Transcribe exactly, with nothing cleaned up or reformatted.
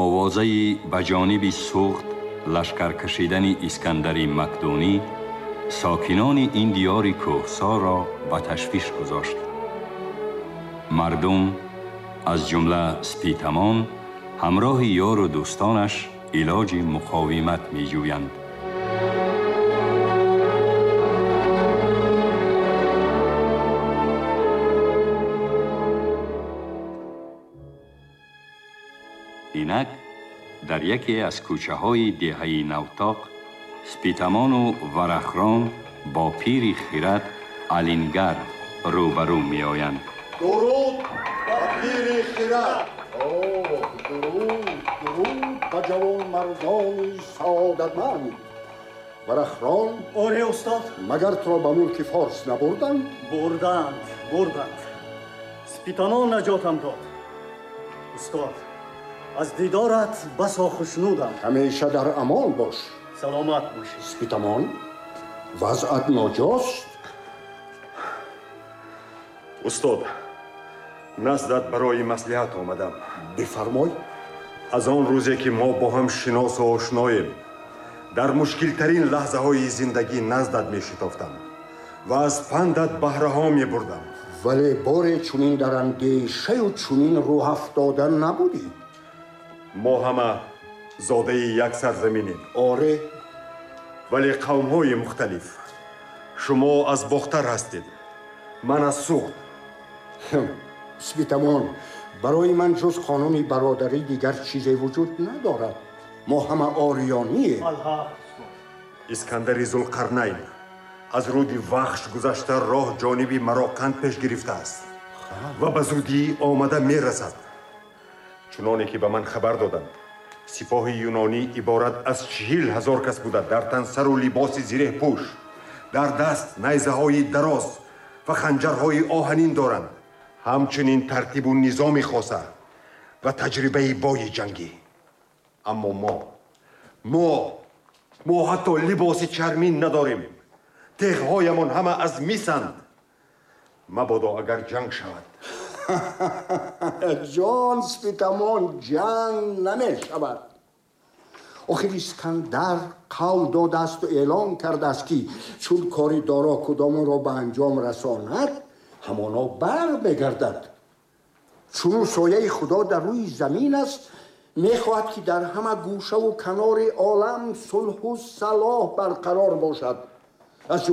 Овозаи ба ҷониби Суғд лашкар кашидани Искандари Макдонӣ сокинони ин диёри кӯҳсорро ба ташвиш гузошт. Мардум аз ҷумла Спитамон ҳамроҳи ёру дӯстонаш илоҷи муқовимат меҷӯянд. Инак дар яке аз кӯчаҳои деҳаи Навтоқ Спитамону Варахрон бо пири хирад Алингар рӯбарӯ меоянд. Дуруд ба пири хирад! Оҳ, дуруд, дуруд ба ҷавонмардони саодатманд! Варахрон? Оре, устод. Магар туро ба мулки форс набурданд? Бурданд, бурданд. Спитамон наҷотам дод. Устод, аз дидорат басо хушнудам. Ҳамеша дар амон бош. Саломат бошӣ. Спитамон, вазъат ноҷост? Устод, наздат барои маслиҳат омадам. Бифармой. Аз он рӯзе ки мо бо ҳам шиносу ошноем, дар мушкилтарин лаҳзаҳои зиндагӣ наздат мешитофтам ва аз пандат баҳраҳо мебурдам. Вале боре чунин дар андешаю чунин рӯҳафтода набудӣ. Мо ҳама зодаи як сарзаминем. Оре. Вале қавмҳои мухталиф. Шумо аз Бохтар ҳастед, ман аз Суғд. Спитамон, барои ман ҷуз қонуни бародарӣ дигар чизе вуҷуд надорад. Мо ҳама ориёнием. Искандари Зулқарнайн аз рӯди Вахш гузашта роҳ ҷониби Мароқанд пеш гирифтааст ва ба зудӣ омада мерасад. Чуноне ки ба ман хабар доданд, сипоҳи юнонӣ иборат аз чиҳил ҳазор кас буда, дар тан сару либоси зиреҳпӯш, дар даст найзаҳои дароз ва ханҷарҳои оҳанин доранд. Ҳамчунин тартибу низоми хоса ва таҷрибаи бои ҷангӣ. Аммо мо мо мо ҳатто либоси чармин надорем. Теғҳоямон ҳама аз мисанд. Мабодо агар ҷанг шавад. Ҷон Спитамон, ҷанг намешавад. Охир Искандар қавл додаасту эълон кардааст, ки чун кори доро кудомонро ба анҷом расонад, ҳамоно бармегардад. Чунун сояи Худо дар рӯи замин аст, мехоҳад, ки дар ҳама гӯшаву канори олам сулҳу салоҳ барқарор бошад. Аз